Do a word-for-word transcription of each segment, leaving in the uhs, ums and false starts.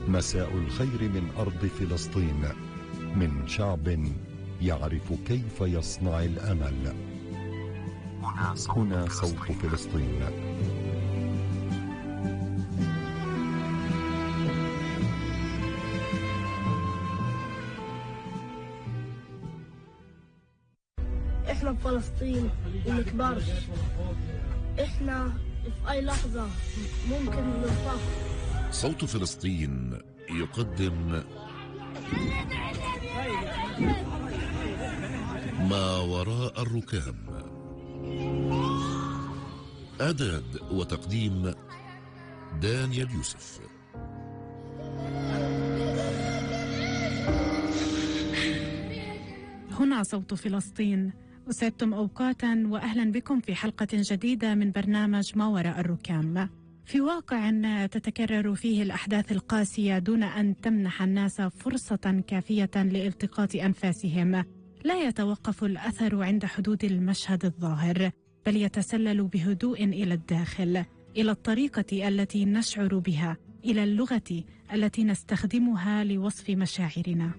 مساء الخير من أرض فلسطين، من شعب يعرف كيف يصنع الأمل. هنا صوت فلسطين. احنا بفلسطين ومنكبرش. احنا في اي لحظة ممكن ننفخ. صوت فلسطين يقدم ما وراء الركام. إعداد وتقديم دانيال يوسف. هنا صوت فلسطين. أسعدتم أوقاتا وأهلا بكم في حلقة جديدة من برنامج ما وراء الركام. في واقع تتكرر فيه الأحداث القاسية دون أن تمنح الناس فرصة كافية لالتقاط أنفاسهم، لا يتوقف الأثر عند حدود المشهد الظاهر، بل يتسلل بهدوء إلى الداخل، إلى الطريقة التي نشعر بها، إلى اللغة التي نستخدمها لوصف مشاعرنا.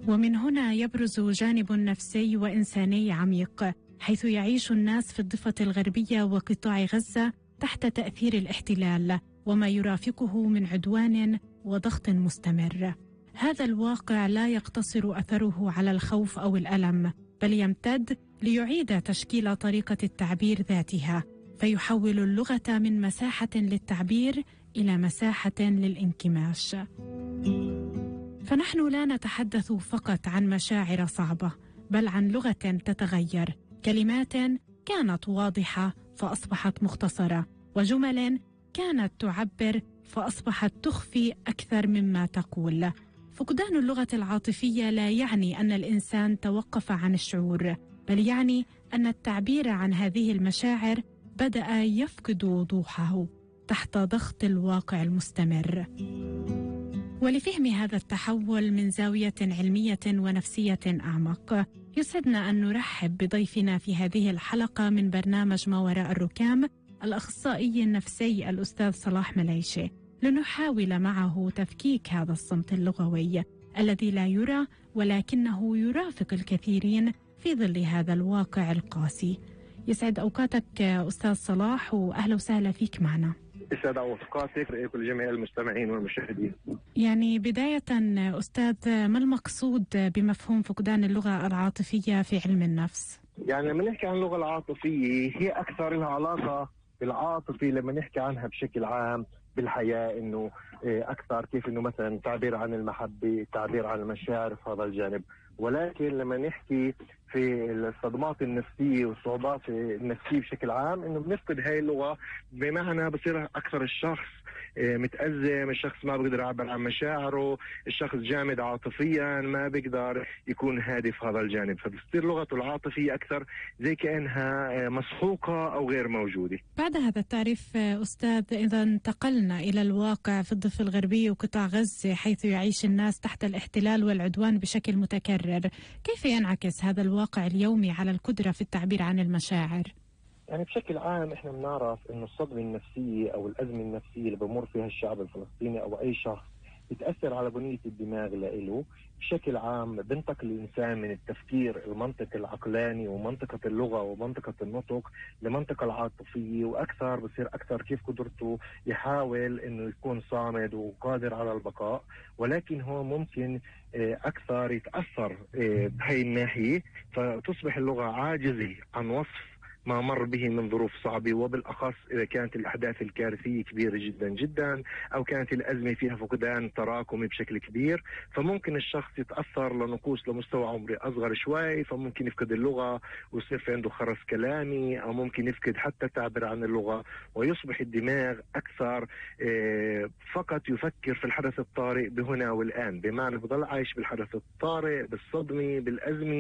ومن هنا يبرز جانب نفسي وإنساني عميق، حيث يعيش الناس في الضفة الغربية وقطاع غزة تحت تأثير الاحتلال وما يرافقه من عدوان وضغط مستمر. هذا الواقع لا يقتصر أثره على الخوف أو الألم، بل يمتد ليعيد تشكيل طريقة التعبير ذاتها، فيحول اللغة من مساحة للتعبير إلى مساحة للانكماش. فنحن لا نتحدث فقط عن مشاعر صعبة، بل عن لغة تتغير، كلمات كانت واضحة فأصبحت مختصرة، وجمل كانت تعبر فأصبحت تخفي أكثر مما تقول. فقدان اللغة العاطفية لا يعني أن الإنسان توقف عن الشعور، بل يعني أن التعبير عن هذه المشاعر بدأ يفقد وضوحه تحت ضغط الواقع المستمر. ولفهم هذا التحول من زاوية علمية ونفسية أعمق، يسعدنا أن نرحب بضيفنا في هذه الحلقة من برنامج ما وراء الركام، الأخصائي النفسي الأستاذ صلاح مليشي، لنحاول معه تفكيك هذا الصمت اللغوي الذي لا يرى ولكنه يرافق الكثيرين في ظل هذا الواقع القاسي. يسعد أوقاتك أستاذ صلاح، وأهلا وسهلا فيك معنا. يسعد أوقاتك لكل جميع المستمعين والمشاهدين. يعني بداية أستاذ، ما المقصود بمفهوم فقدان اللغة العاطفية في علم النفس؟ يعني لما نحكي عن اللغة العاطفية هي أكثر لها علاقة بالعاطفة، لما نحكي عنها بشكل عام بالحياة، إنه أكثر كيف إنه مثلا تعبير عن المحبة، تعبير عن المشاعر في هذا الجانب. ولكن لما نحكي في الصدمات النفسية والصعوبات النفسية بشكل عام، إنه بنفقد هاي اللغة، بمعنى بصير أكثر الشخص متأزم، الشخص ما بيقدر يعبر عن مشاعره، الشخص جامد عاطفيا، ما بيقدر يكون هادي في هذا الجانب، فبتصير لغته العاطفية أكثر زي كأنها مسحوقة أو غير موجودة. بعد هذا التعريف أستاذ، إذا انتقلنا إلى الواقع في الضفة الغربية وقطاع غزة، حيث يعيش الناس تحت الاحتلال والعدوان بشكل متكرر، كيف ينعكس هذا الواقع اليومي على القدرة في التعبير عن المشاعر؟ يعني بشكل عام احنا بنعرف انه الصدمة النفسية او الازمة النفسية اللي بمر فيها الشعب الفلسطيني او اي شخص بتأثر على بنية الدماغ لإله. بشكل عام بنتقل الإنسان من التفكير المنطقي العقلاني ومنطقة اللغة ومنطقة النطق لمنطقة العاطفية، وأكثر بصير أكثر كيف قدرته يحاول إنه يكون صامد وقادر على البقاء، ولكن هو ممكن أكثر يتأثر بهي الناحية، فتصبح اللغة عاجزة عن وصف ما مر به من ظروف صعبة، وبالأخص إذا كانت الأحداث الكارثية كبيرة جدا جدا أو كانت الأزمة فيها فقدان تراكمي بشكل كبير، فممكن الشخص يتأثر لنقوص لمستوى عمري أصغر شوي، فممكن يفقد اللغة ويصير في عنده خرس كلامي، أو ممكن يفقد حتى تعبير عن اللغة، ويصبح الدماغ أكثر فقط يفكر في الحدث الطارئ بهنا والآن، بمعنى بضل عايش بالحدث الطارئ، بالصدمة، بالأزمة.